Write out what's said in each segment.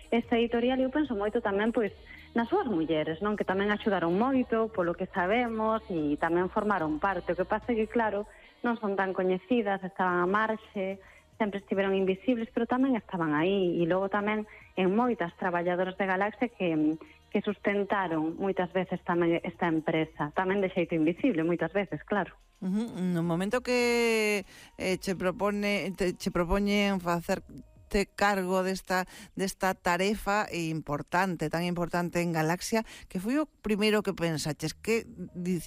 esta editorial eu penso moito tamén pois nas súas mulleres, non? Que tamén axudaron moito polo que sabemos e tamén formaron parte. O que pasa é que, claro, non son tan coñecidas, estaban a marxe, sempre estiveron invisibles, pero tamén estaban aí. E logo tamén en moitas traballadoras de Galaxia que sustentaron moitas veces tamén esta empresa, tamén de xeito invisible, moitas veces, claro. No momento que che propoñen facer cargo desta tarefa importante, tan importante en Galaxia, que foi o primeiro que pensaches, que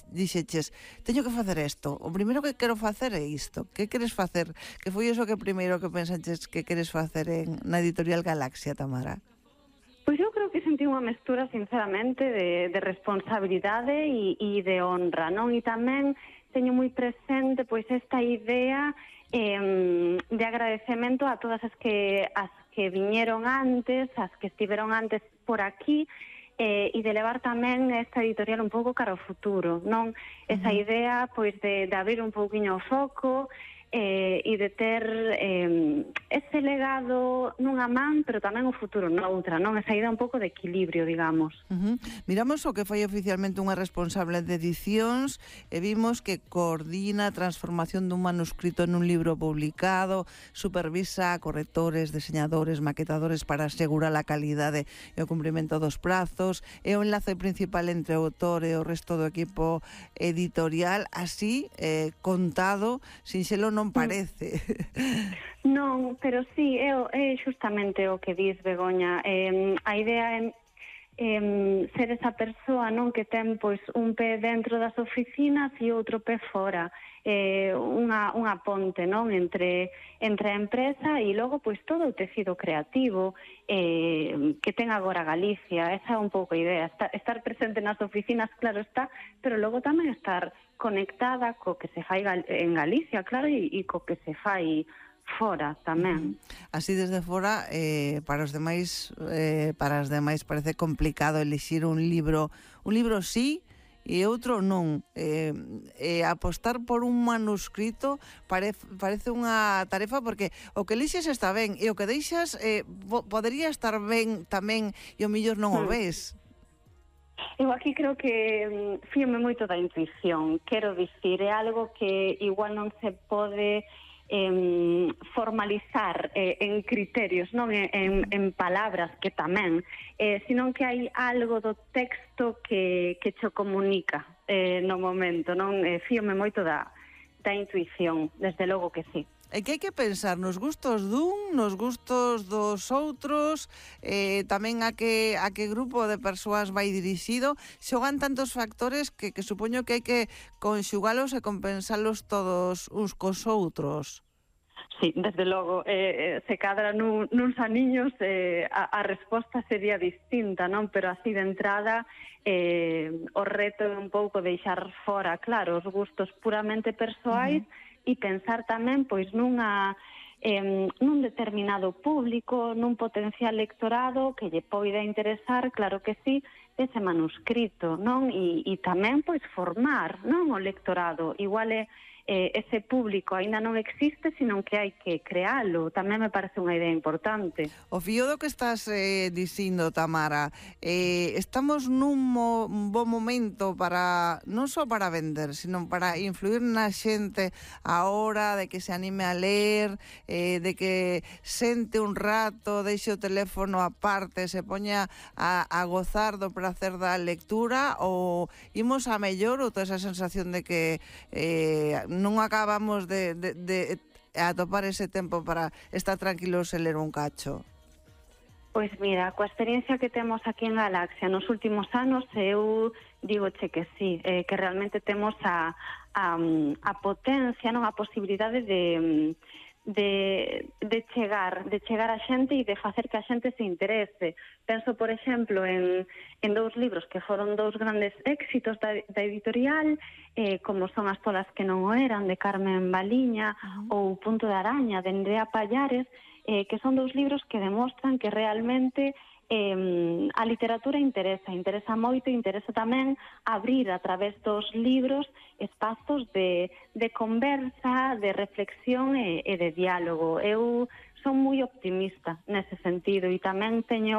dixeches, teño que facer isto, o primeiro que quero facer é isto, que queres facer? Que foi iso que primeiro que pensaches que queres facer na editorial Galaxia, Tamara? Pois eu creo que sentí unha mestura, sinceramente, de responsabilidade e de honra, non? E tamén teño moi presente pois esta idea de agradecemento a todas as que viñeron antes, as que estiveron antes por aquí, e de levar tamén esta editorial un pouco cara ao futuro, non? Esa idea pois de abrir un pouquiño o foco e de ter ese legado nunha man, pero tamén o futuro noutra, non? Esa idea un pouco de equilibrio, digamos. Miramos o que foi oficialmente unha responsable de edicións e vimos que coordina a transformación dun manuscrito nun libro publicado, supervisa a correctores, diseñadores, maquetadores para asegurar a calidade e o cumprimento dos prazos, é o enlace principal entre o autor e o resto do equipo editorial, así contado, sinxelo non parece. Non, pero sí, é justamente o que dis, Begoña. A idea é ser esa persoa, non, que ten pois un pé dentro das oficinas e outro pé fora, unha ponte, non, entre a empresa e logo pois todo o tecido creativo que ten agora Galicia. Esa é un pouco a idea, estar presente nas oficinas, claro está, pero logo tamén estar conectada co que se fai en Galicia, claro, e co que se fai fora tamén. Así desde fora, para as demais parece complicado elixir un libro sí e outro non. Apostar por un manuscrito parece unha tarefa, porque o que elixes está ben e o que deixas podería estar ben tamén e o mellor non o ves. Eu aquí creo que fíome moito da intuición, quero dicir, é algo que igual non se pode formalizar en criterios, non en palabras, que tamén, senón que hai algo do texto que cho comunica no momento, non? Fíome moito da intuición, desde logo que sí. É que hai que pensar nos gustos dun, nos gustos dos outros, tamén a que grupo de persoas vai dirixido. Xogan tantos factores que supoño que hai que conxugalos e compensalos todos uns cos outros. Sí, desde logo, se cadra nuns aniños a resposta sería distinta, non? Pero así de entrada o reto é un pouco deixar fora, claro, os gustos puramente persoais e pensar tamén pois nun determinado público, nun potencial lectorado que lle poida interesar, claro que sí, ese manuscrito, non? E tamén pois formar, non, o lectorado. Igual ese público aínda non existe, senón que hai que crealo. Tamén me parece unha idea importante. O fío do que estás dicindo, Tamara, estamos nun bo momento para non só para vender, sino para influir na xente a hora de que se anime a ler, de que sente un rato, deixe o teléfono aparte, se poña a gozar do prazer da lectura, ou imos a mellor, ou toda esa sensación de que non acabamos de atopar ese tempo para estar tranquilos e ler un cacho? Pois mira, coa experiencia que temos aquí en Galaxia nos últimos anos, eu digoche que sí, que realmente temos a potencia, non, a posibilidade de chegar a xente e de facer que a xente se interese. Penso, por exemplo, en dous libros que foron dous grandes éxitos da editorial, como son As tolas que non o eran, de Carmen Baliña, ou Punto de araña, de Andrea Pallares, que son dous libros que demostran que realmente a literatura interesa moito, interesa tamén abrir a través dos libros espazos de conversa, de reflexión e de diálogo. Eu son moi optimista nese sentido e tamén teño